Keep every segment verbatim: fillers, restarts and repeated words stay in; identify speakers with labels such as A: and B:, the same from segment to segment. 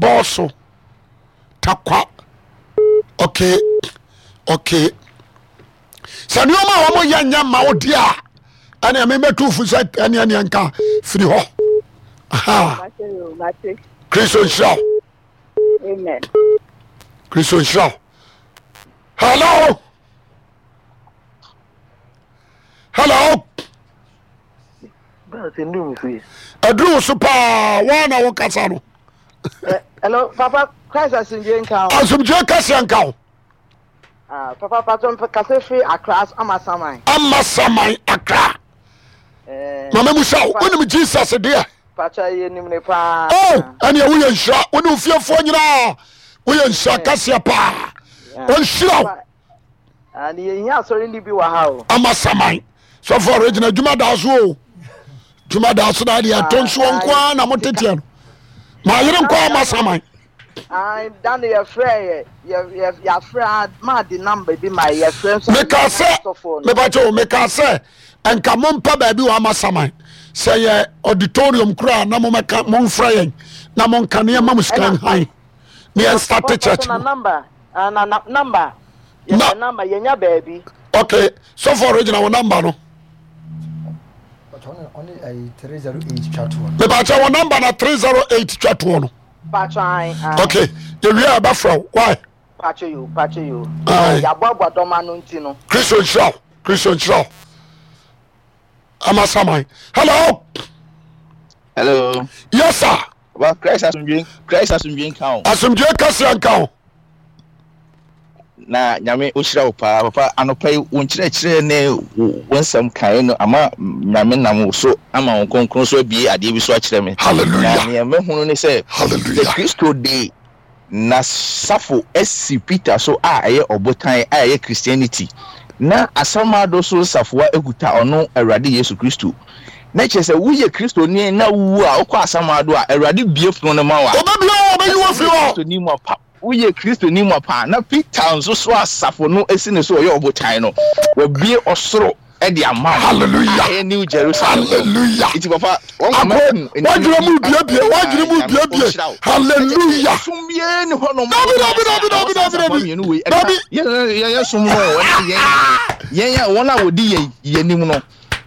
A: Abɔso Takwa. Okay, okay. Sɛ nneɛma a wɔn yɛ nyɛ ma wo deɛ a, ɛnna ɛmɛ mɛtu fo sɛ ɛnna ɛnna nka firi hɔ. Kristo nhyira wo.
B: Amen.
A: Kristo nhyira wo. Hello. Hello. Ɛduru wo so paa waa na wo kasa no.
C: Eh, hello papa, Christ asomdwe nka wo.
A: Asomdwe kɛseɛ nka wo.
C: Ah, papa patro mpɛ kasa firi Accra, Amasaman.
A: Amasaman Accra.
C: Eh,
A: Mama mu sɛ wonim Jesus deɛ.
C: Patro yɛ nim ne paa.
A: Oh, ɛneɛ woyɛ nhyira wo ne ofiefoɔ nyinaa woyɛ nhyira kɛseɛ paa. Ɔnhyira wo.
C: Ah, ne yɛhia asɔre no bi wɔ ha o.
A: Amasaman sɔfo original adwuma daa so o adwuma daa so daa deɛ ɛtɔ nsuo nko ara na moteteɛ no maa yere nkɔ Amasaman.
C: Da no yɛfrɛ yɛ yɛ yɛafrɛ a maa de namba bi ma yɛfrɛ nso.
A: Meka sɛ mebakyɛ o meka sɛ nka mompɛ baabi wɔ Amasaman sɛ yɛ auditorium koraa na momɛka momfrɛ yɛn na monka nneɛma mu sika nhan ne yɛn start church
C: no. Ah, na na number. Yɛ na number yɛ nya baabi.
A: Okay, sɔfo original wɔ number no. Mepakyɛ wɔ number na three zero eight twa toɔ no.
C: Pakyɛ ayi.
A: Okay, yɛwie a ɛbɛfrɛ wo. Why?
C: Pakyɛ yo, pakyɛ yo. Yɛaboaboa dɔm ano nti no.
A: Kristo nhyira wo, Kristo nhyira wo. Amasaman. Hello.
D: Hello.
A: Yes sir.
D: Well, Christ asomdwe, Christ asomdwe nka wo.
A: Asomdwe kɛseɛ nka wo.
D: Na Nyame ohyira wo paa papa anɔpa yi wo nkyerɛkyerɛ ne wo nsɛm kae no ama Nyame nam wo so ama wo kronkron so abie adeɛ bi so akyerɛ me.
A: Hallelujah.
D: Na nea mahunu ne sɛ
A: Hallelujah.
D: Sɛ Kristo de N'asafo asi Peter so a ɛyɛ ɔbotan a ɛyɛ Christianity, na asamado so safoa kuta ɔno Awurade Yesu Kristo. Na kyerɛ sɛ woyɛ Kristoni na wuwu a wokɔ asamado a, Awurade bue pono no ma wo a.
A: Ɔbɛbue wo, ɔbɛyi wo afiri hɔ.
D: Kristoni mu apa, woyɛ Kristoni mu apa na Peter nso so asafo no asi ne so ɔyɛ ɔbotan no, wabue ɔsoro de ama wo.
A: Hallelujah.
D: Ɛyɛ New Jerusalem.
A: Hallelujah.
D: Nti papa, wɔn kama
A: hu. Wadwene mu biebie, wadwene mu biebie. Hallelujah.
D: Sum bie ni hɔ nom.
A: Dabi dabi dabi dabi dabi dabi. Dabi.
D: Yɛn yɛn sum no wɔn yɛn yɛn a wɔn a wɔdi yɛn yɛn anim no,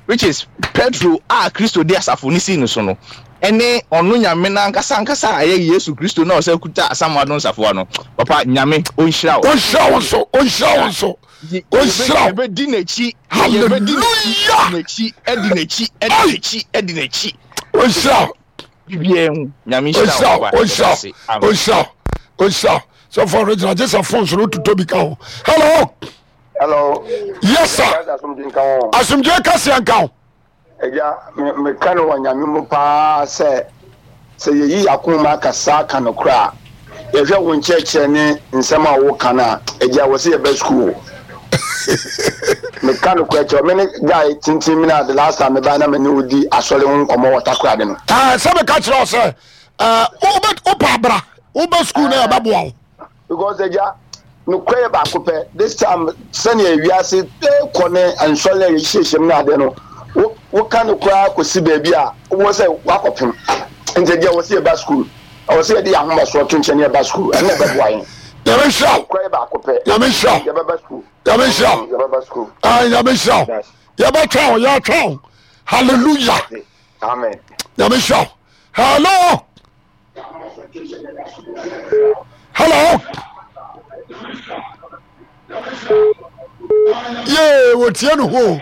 D: which is Petro a Kristo de asafo no sii no so no, ɛne ɔno Nyame no ankasa ankasa a ɛyɛ Yesu Kristo na ɔsɛ kuta asamado nsafoa no. Papa Nyame ɔnhyira wo.
A: Ɔnhyira wo nso, ɔnhyira wo nso. Ɔnhyira wo.
D: Yɛbɛdi n'akyi.
A: Hallelujah.
D: N'akyi, ɛdi n'akyi, ɛdi n'akyi, ɛdi n'akyi.
A: Ɔnhyira wo.
D: Biribiara hu. Nyame nhyira wo.
A: Ɔnhyira wo, ɔnhyira wo, ɔnhyira wo. Sɔfo original gye sɛ phone so no wototɔ bi ka ho. Hello.
E: Hello.
A: Yes sir. Asomdwe kɛseɛ nka ho.
E: Agya, meka no wɔ Nyame mu paa sɛ, sɛ yɛyi yɛn akoma kasa ka nokorɛ a, yɛhwɛ wo nkyerɛkyerɛ ne nsɛm a woka no a, agya, wɔ sɛ yɛba sukuu o. Meka nokorɛ kyerɛ wo, me ne guy tenten mi na the last time mebae na me ne wo di asɔre ho nkɔmmɔ wɔ Takoradi no.
A: Ah, sɛ meka kyerɛ wo sɛ, eh, wopɛ abra, wobɛ sukuu na yɛbɛboa wo.
E: Because agya, nokorɛ yɛ baako pɛ. This time sɛnea wiase kɔ ne nsɔre a yɛhyehyɛ mu no adeɛ no, woka no koraa kɔsi baabi a wowɔ sɛ woakɔpem. Nti agya, wɔ sɛ yɛba school. Ɛwɔ sɛ yɛde yɛn ahomasoɔ to nkyɛn na yɛba school. Ɛno na ɛbɛboa yɛn.
A: Nyame nhyira wo.
E: Nokorɛ yɛ baako pɛ.
A: Nyame nhyira wo.
E: Yɛbɛba school.
A: Nyame nhyira wo.
E: Yɛbɛba school.
A: Ah, Nyame nhyira wo. Yɛbɛtwɛn wo, yɛatwɛn wo. Hallelujah.
E: Amen.
A: Nyame nhyira wo. Hello. Hello. Yee, wɔtie no ho.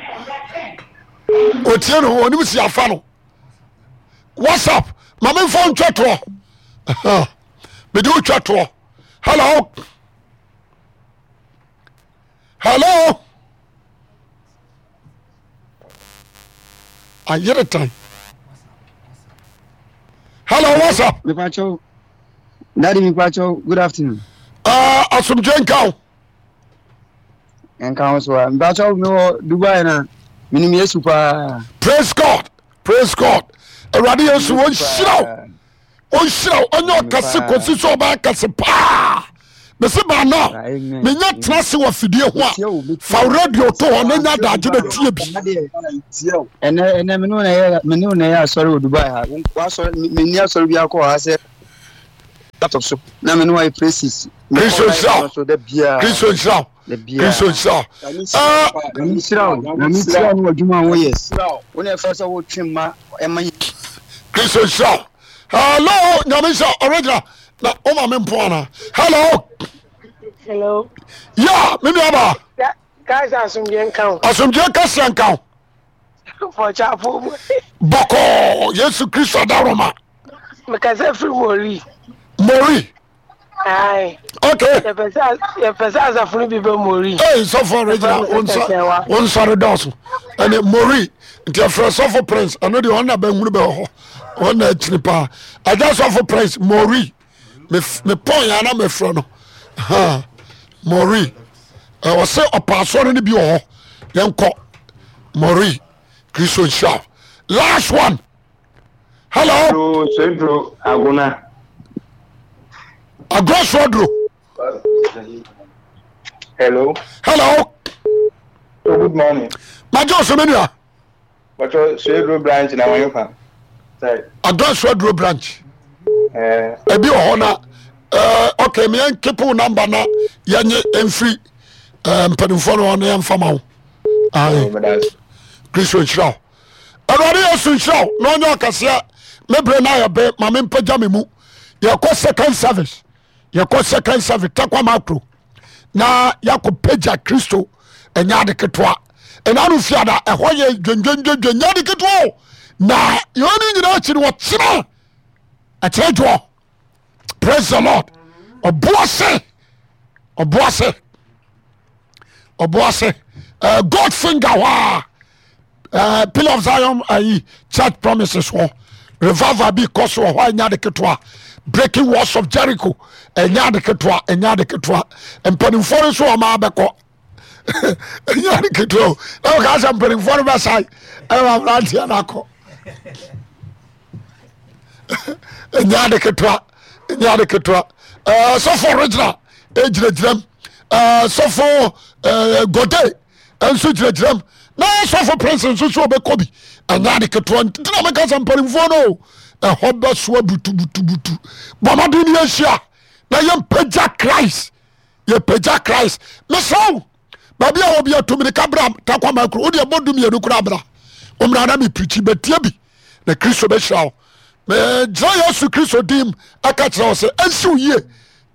A: Wɔtie no ho, onim si afa no. WhatsApp, ma memfa ntwa toɔ. Mede wo twa toɔ. Hello. Hello. Ayere tan. Hello, what's up?
F: Mepacho. Daddy mepacho, good afternoon.
A: Uh, asomdwe nka wo.
F: Nka wo so a. Mepacho me wɔ Dubai na menim Yesu paa.
A: Praise God. Praise God. Awurade Yesu wɔnhyira wo. Ɔnhyira wo. Ɔnyɛ ɔkɛse kɔsi sɛ ɔbɛyɛ kɛse paa. Mese baa now menya tena ase wɔ afidie ho a fa radio to hɔ na nya adagye na tie bi.
F: Ɛnɛ ɛnɛ me ne wo na yɛ me ne wo na yɛ asɔre wɔ Dubai ha. W'asɔre menni asɔre bi akɔ ha sɛ Laptop so na me ne wayɛ praises.
A: Kristo nhyira wo. Kristo nhyira wo. Kristo nhyira wo.
F: Nyame nhyira wo. Nyame nhyira wo ne w'adwuma a woyɛ. Wo na ɛfɛ sɛ wotwe mma ɛma yi.
A: Kristo nhyira wo. Hello, Nyame nhyira wo. Original. Na wo ma me mpo ana. Hello.
B: Hello.
A: Yeah, me nua ba.
B: Guys, asomdwe nka wo.
A: Asomdwe kɛseɛ nka wo.
B: Bɔkyafo mu.
A: Bɔkɔɔ Yesu Kristo adaworoma.
B: Mekasa firi Mori.
A: Mori.
B: Aye.
A: Okay.
B: Yɛpɛ sɛ yɛpɛ sɛ asafo no bi bɛ Mori.
A: Ee sɔfo original wɔn nsɔre dɔɔso ɛne Mori nti ɛfrɛ sɔfo Prince ɛno deɛ wɔn na bɛhunu bɛ wɔ hɔ wɔn na akyiri paa ɛgya sɔfo Prince Mori me me pɔn yɛn ana mɛfrɛ no ha Mori ɛwɔ sɛ ɔpa asɔre no bi wɔ hɔ yɛn kɔ Mori Kristo nhyira last one. Hello.
G: Duro soduro agona.
A: Agorɔ soduro.
G: Hello.
A: Hello.
G: Oh, good morning.
A: Major Osemenua.
G: Bàtò soduro branch na wọ́n fa.
A: Agorɔ soduro branch. Eh. Ebi wɔ hɔ na eh, ok mi yɛn keep number na yɛn nye nfiri eh, mpanimfoɔ no wɔn yɛn fa ma wo. Ayi. Kristo nhyira wo. Awurade Yesu nhyira wo na ɔnyɛ ɔkɛseɛ. Me bere no ayɛ be ma mempagya me mu. Yɛkɔ second service, yɛkɔ second service Takwa Makro na yɛakɔ pagya Kristo. Ɛnyɛ ade ketewa. Ɛna no fiada ɛhɔ yɛ dwendwendwendwen nyɛ ade ketewa o. Na yɛn ne nyinaa akyi no wɔkyena ɛkyerɛ dwoɔ. Praise the Lord. Ɔboase, ɔboase, ɔboase. Uh, God finger hɔ a uh, Pillar of Zion ayi uh, church promises hɔ revival bi kɔ so wɔ hɔ a ɛnyɛ ade ketewa. Breaking walls of Jericho ɛnyɛ ade ketewa, ɛnyɛ ade ketewa. Mpanimfoɔ no nso wɔn abɛkɔ ɛnyɛ ade ketewa o. Na wɔka sɛ mpanimfoɔ no bɛsae ɛna wɔn aberanteɛ no akɔ. Ɛnyɛ ade ketewa, ɛnyɛ ade ketewa. Ɛɛ sɔfo original egyinagyina mu, ɛɛ sɔfo ɛɛ gode nso gyinagyina mu na sɔfo prince nso so ɔbɛkɔ bi. Ɛnyɛ ade ketewa nti na meka sɛ mpanimfoɔ no ɛhɔ bɛsoa butubutubutu. Bɔ mmɔden ne yɛnhyia na yɛmpagya Christ, yɛpagya Christ. Mesrɛ wo baabi a wɔbi atu mirika bra Takwa Makro wode ɛbɔ du mmienu koraa bra ɔmmra na mepirikyi bɛtie bi na Kristo bɛhyira wo. Megyina Yesu Kristo dim ɛka kyerɛ wo sɛ ɛnsi wo yie.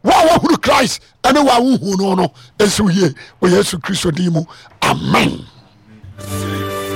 A: Wo a woahunu Christ ɛne wo a wohu no no ɛnsi wo yie wɔ Yesu Kristo din mu. Amen.